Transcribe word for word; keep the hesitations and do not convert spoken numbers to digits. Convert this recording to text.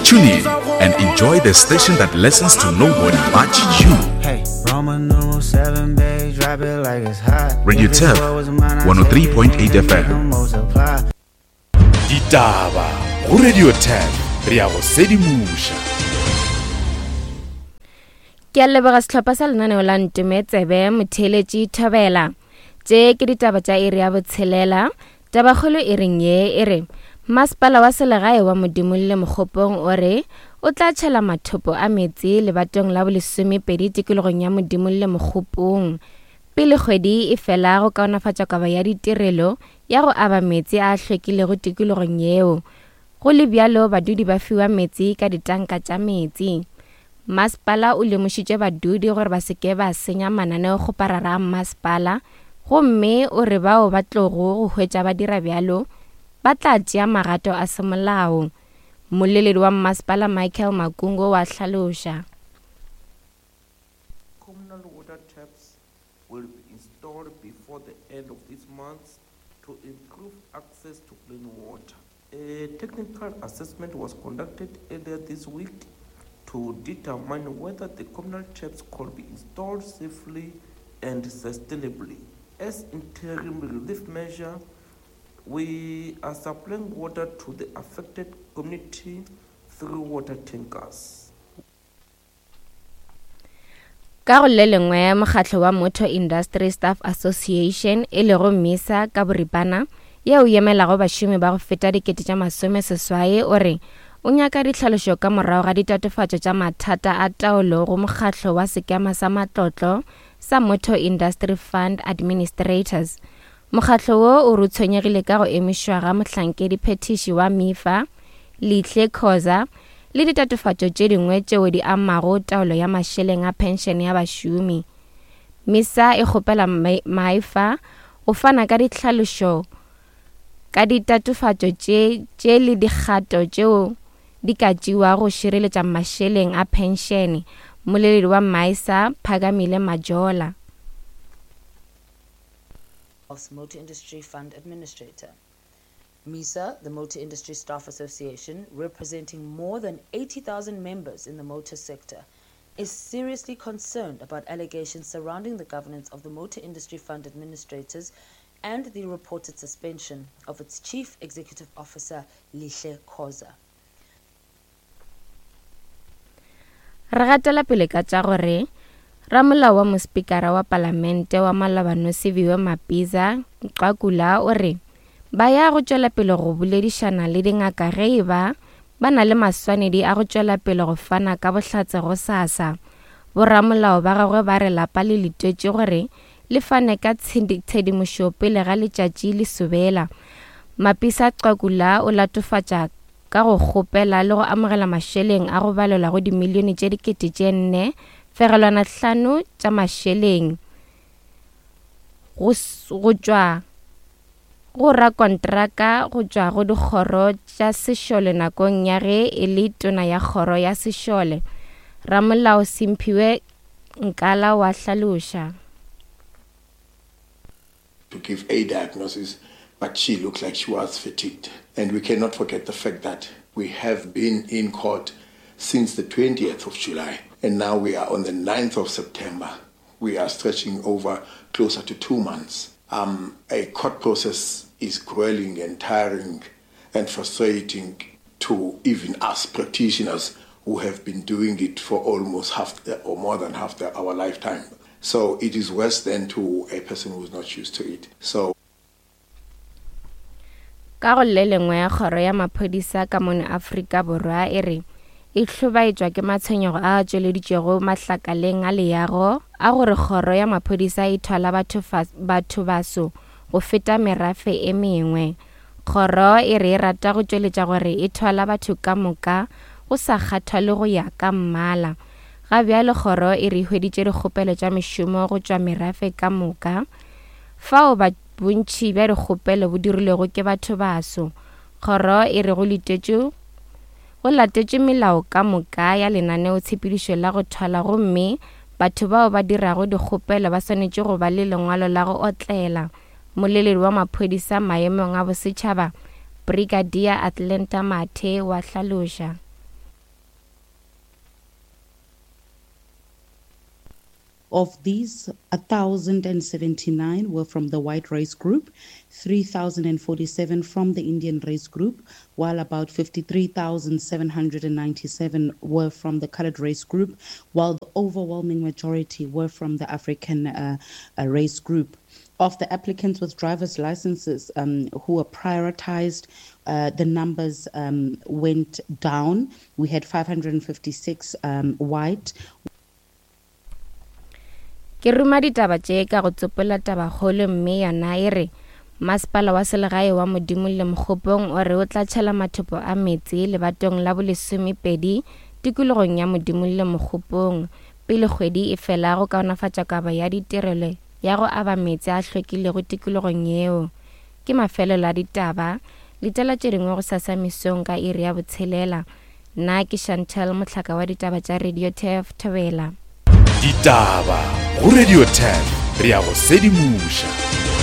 Tune in and enjoy the station that listens to nobody but you. Hey, Roman numeral seven, babe, drop it like it's hot. Radio If this Turf, world was mine, I'd one oh three take it point eight and F M. make 'em multiply. Ditaba go Radio Turf, re ya go sedimoša. Ke a leboga sehlopha sa lenaneo la Ntome Tsebe, motheeletši Thobela. Tše ke ditaba tša iri ya botshelela. Tabakgolo e reng ye e re masepala wa selegae wa Modimolle Mokgopong o re o tla tšhela mathopo a metsi lebatong la bolesomepedi tikologong ya Modimolle Mokgopong pele kgwedi e fela go kaonafatša kabo ya ditirelo ya go aba metsi a hlwekilego tikologong yeo. Go le bjalo badudi ba fiwa metsi ka ditanka tša metsi. Masepala o lemošitše badudi gore ba se ke ba senya mananeokgoparara a masepala, gomme o re bao ba tlogo go hwetša ba dira bjalo ba tla tšea magato a semolao. Mmoleledi wa masepala Michael Makungo wa hlaloša. Communal water taps will be installed before the end of this month to improve access to clean water. A technical assessment was conducted earlier this week to determine whether the communal taps could be installed safely and sustainably. As interim relief measure, we are supplying water to the affected community through water tankers. Ka go le lengwe, mokgatlo wa Motor Industry Staff Association e lego MISA ka boripana, yeo e emelago bašomi ba go feta dikete tša masome seswai, o re o nyaka ditlhalošo ka morago ga ditatofatšo tša mathata a taolo go mokgatlo wa sekema sa matlotlo sa Motor Industry Fund Administrators. Mokgatlo wo o re o tshwenyegile ka go emišwa ga mohlankedi phethiši wa M I F A, Lihle Khoza, le ditatofatšo tše dingwe tšeo di amago taolo ya mašeleng a penšene ya bašomi. MISA e kgopela M I F A go fana ka ditlhalošo ka ditatofatšo tše, tše le dikgato tšeo di ka tšewago go šireletša mašeleng a penšene. Mmoleledi wa MISA, Phakamile Majola. Motor Industry Fund Administrator. MISA, the Motor Industry Staff Association, representing more than eighty thousand members in the motor sector, is seriously concerned about allegations surrounding the governance of the Motor Industry Fund Administrators and the reported suspension of its Chief Executive Officer, Lihle Khoza. Re gatela pele ka tša gore ramolao wa mospikara wa palamente wa maloba Nosiviwe Mapisa Nqakula o re ba ya go tšwela pele go boledišana le dingaka ge e ba ba na le maswanedi a go tšwela pele go fana ka bohlatse go SASSA. Boramolao ba gagwe ba re lapa le letetše gore le fane ka tshedimošo pele ga letšatši le sobela. Mapisa Nqakula o latofatša ka go kgopela le go amogela mašeleng a go balelwa go dimilione tše dikete tše nne fegelwana hlano tša mašeleng go go tšwa go rakontraka go tšwa go dikgoro tša sešole nakong ya ge e le tona ya kgoro ya sešole. Ramolao Simphiwe Nkala wa hlaloša. To give a diagnosis, but she looked like she was fatigued. And we cannot forget the fact that we have been in court since the twentieth of July, and now we are on the ninth of September. We are stretching over closer to two months. Um, a court process is grueling and tiring and frustrating to even us practitioners who have been doing it for almost half the, or more than half the, our lifetime. So it is worse than to a person who is not used to it. So ka go le lengwe, kgoro ya maphodisa ka mono Afrika Borwa e re e hlobaetšwa ke matshwenyego a tšweleditšwego mahlakaleng a leago a gore kgoro ya maphodisa e thwala batho baso go feta merafe e mengwe. Kgoro e re e rata go tšweletša gore e thwala batho ka moka go sa kgathale go ya ka mmala. Ga bjale kgoro e re hweditše dikgopelo tša mešomo go tšwa merafe ka moka, fao ba bontši bja dikgopelo bo dirilwego ke batho baso. Kgoro e re go letetše go latetše melao ka moka ya lenaneotshepedišo la go thwala, gomme batho bao ba dirago dikgopelo ba swanetše go ba le lengwalo la go otlela. Mmoleledi wa maphodisa maemong a bosetšhaba, Brigadier Atlanta Mathe wa hlaloša. Of these, one thousand seventy-nine were from the white race group, three thousand forty-seven from the Indian race group, while about fifty-three thousand seven hundred ninety-seven were from the colored race group, while the overwhelming majority were from the African uh, uh, race group. Of the applicants with driver's licenses um, who were prioritized, uh, the numbers um, went down. We had five hundred fifty-six um, white. Ke ruma ditaba tše ka go tsopola tabakgolo mme yona e re masepala wa selegae wa Modimo le Mokgopong o re o tla tšhela mathopo a meetse lebatong la bolesomepedi tikologong ya Modimo le Mokgopong pele kgwedi e fela go kaonafatša kabo ya ditirelo ya go aba meetse a hlwekilego tikologong yeo. Ke mafelelo a ditaba, letela tše dingwe go sasa mesong ka iri ya botshelela. Nna ke Chantal Mohlaka wa ditaba tša Radio T F Thobela. Ditaba go Radio ten, re ya go sedimoša.